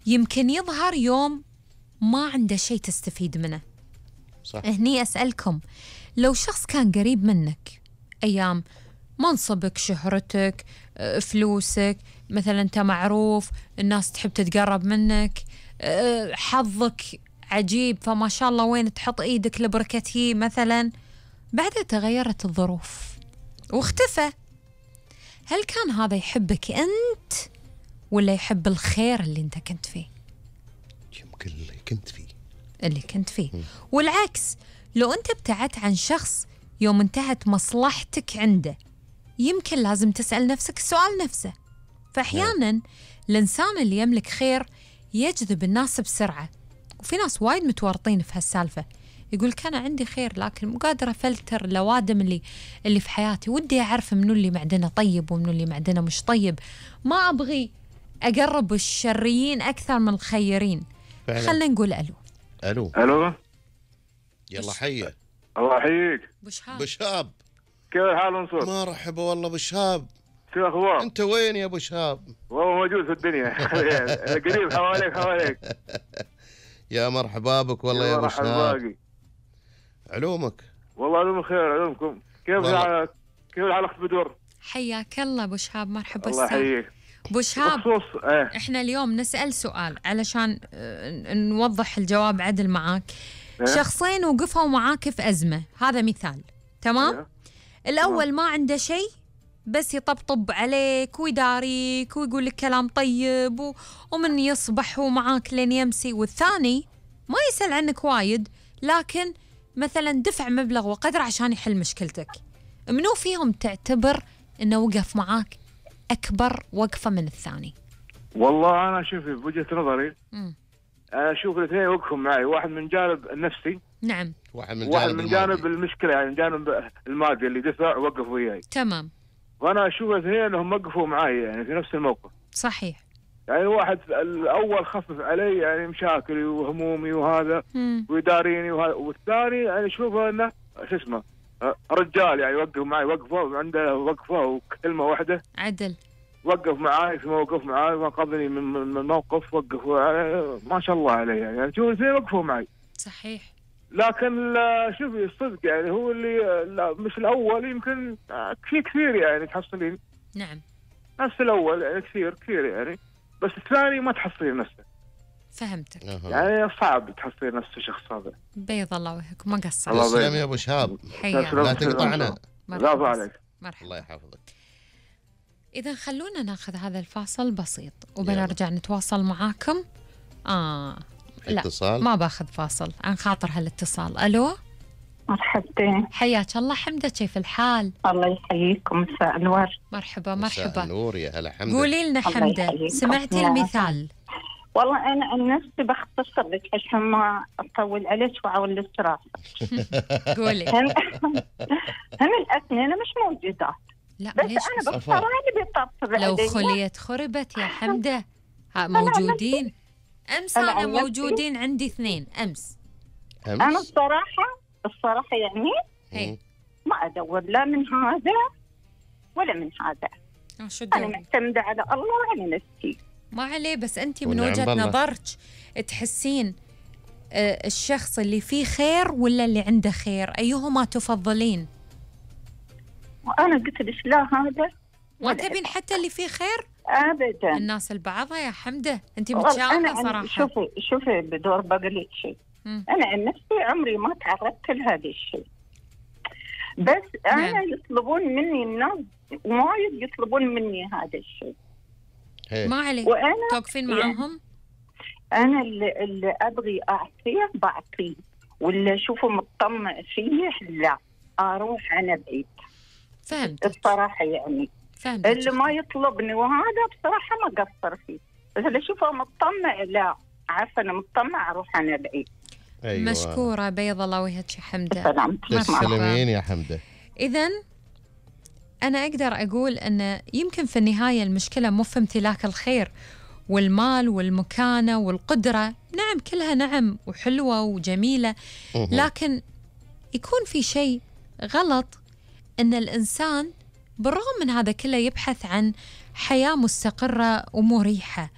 يمكن يظهر يوم ما عنده شيء تستفيد منه. صح. هني أسألكم، لو شخص كان قريب منك أيام منصبك، شهرتك، فلوسك، مثلا أنت معروف، الناس تحب تتقرب منك، حظك عجيب فما شاء الله وين تحط إيدك لبركته مثلا، بعدها تغيرت الظروف واختفى، هل كان هذا يحبك أنت ولا يحب الخير اللي أنت كنت فيه؟ يمكن اللي كنت فيه. والعكس، لو أنت ابتعدت عن شخص يوم انتهت مصلحتك عنده، يمكن لازم تسأل نفسك السؤال نفسه. فأحيانا الإنسان اللي يملك خير يجذب الناس بسرعة، وفي ناس وايد متورطين في هالسالفة، يقول كان عندي خير لكن مو قادرة أفلتر الأوادم اللي في حياتي، ودي أعرف منو اللي معدنه طيب ومنو اللي معدنه مش طيب، ما أبغي أقرب الشريين أكثر من الخيرين. خلنا نقول ألو. يلا حيه. الله يحييك. بشهاب كيف الحال منصور؟ مرحبا والله بشهاب. شو الأخبار؟ أنت وين يا بشهاب؟ والله موجود في الدنيا. قريب حواليك. يا مرحبا بك والله يا بشهاب. علومك؟ والله علوم خير. علومكم كيف الحال أخت بدور؟ حياك الله أبو شهاب، مرحبا. الله يحييك أبو شهاب. إحنا اليوم نسأل سؤال علشان نوضح الجواب عدل معاك. شخصين وقفوا معاك في أزمة، هذا مثال، تمام؟ الأول ما عنده شيء بس يطبطب عليك ويداريك ويقول لك كلام طيب ومن يصبح معاك لين يمسي، والثاني ما يسأل عنك وايد لكن مثلا دفع مبلغ وقدر عشان يحل مشكلتك. منو فيهم تعتبر انه وقف معاك اكبر وقفة من الثاني؟ والله انا شوفي بوجهة نظري اشوف الاثنين وقفوا معي، واحد من جانب النفسي، نعم، واحد من جانب المشكلة، يعني جانب المادي اللي دفع وقف وياي، تمام. وانا اشوف الاثنين انهم وقفوا معي يعني في نفس الموقف. صحيح. يعني واحد الاول خفف علي يعني مشاكلي وهمومي وهذا ويداريني وهذا، والثاني يعني اشوفه انه شو اسمه رجال، يعني يوقف معي وقفه، عنده وقفه وكلمه واحده عدل، وقف معاي في موقف معاي وانقذني من موقف، وقف ما شاء الله عليه، يعني شوف الاثنين وقفوا معي. صحيح. لكن شوفي الصدق يعني هو اللي مش الاول، يمكن في كثير يعني تحصلين. نعم. نفس الاول يعني كثير يعني، بس الثاني ما تحصلين نفسه. فهمتك. يعني صعب تحصلين نفس الشخص هذا. بيض الله وجهك، ما قصرت. الله يسلم يا ابو شهاب. لا تقطعنا. لا عليك. مرحبا. الله يحفظك. إذا خلونا ناخذ هذا الفاصل بسيط وبنرجع نتواصل معاكم. لا اتصال. ما باخذ فاصل عن خاطر هالاتصال. ألو. مرحبتين. حياك الله حمدة، كيف الحال؟ الله يحييكم، مساء الورد. مرحبا. مساء النور يا هلا حمدة. قولي لنا حمدة، سمعتي المثال؟ والله أنا عن نفسي بختصر لك عشان ما أطول عليك وأعول الصراحة. قولي. هم الأثنين مش موجودات. لا بس أنا بختار اللي بيطبطب علي. لو خليت خربت يا حمدة. موجودين. أمس أنا موجودين عندي 2 أمس. أنا الصراحة يعني ما أدور لا من هذا ولا من هذا. أنا معتمدة على الله وعلى نفسي. ما عليه، بس أنت من وجهة نظرك تحسين الشخص اللي فيه خير ولا اللي عنده خير، أيهما تفضلين؟ وأنا قلت لك لا هذا ما تبين حتى اللي فيه خير؟ أبدا. الناس البعضها يا حمدة، أنت متشائمة صراحة. شوفي بدور بقولك شيء، أنا عن نفسي عمري ما تعرضت لهذا الشيء، بس أنا يطلبون مني الناس وايد، يطلبون مني هذا الشيء. ما عليك، توقفين معاهم. أنا اللي أبغي أعطيه بعطيه، واللي أشوفه مطمع فيه لا أروح أنا بعيد. فهمت الصراحة يعني. فهمت. اللي ما يطلبني وهذا بصراحة ما قصر فيه، بس اللي أشوفه مطمع لا، عارفة أنا مطمع أروح أنا بعيد. أيوة. مشكورة، بيض الله وجهك يا حمدة. تسلمين يا حمدة. إذن أنا أقدر أقول أن يمكن في النهاية المشكلة مو في امتلاك الخير والمال والمكانة والقدرة، نعم كلها نعم وحلوة وجميلة، لكن يكون في شيء غلط أن الإنسان بالرغم من هذا كله يبحث عن حياة مستقرة ومريحة،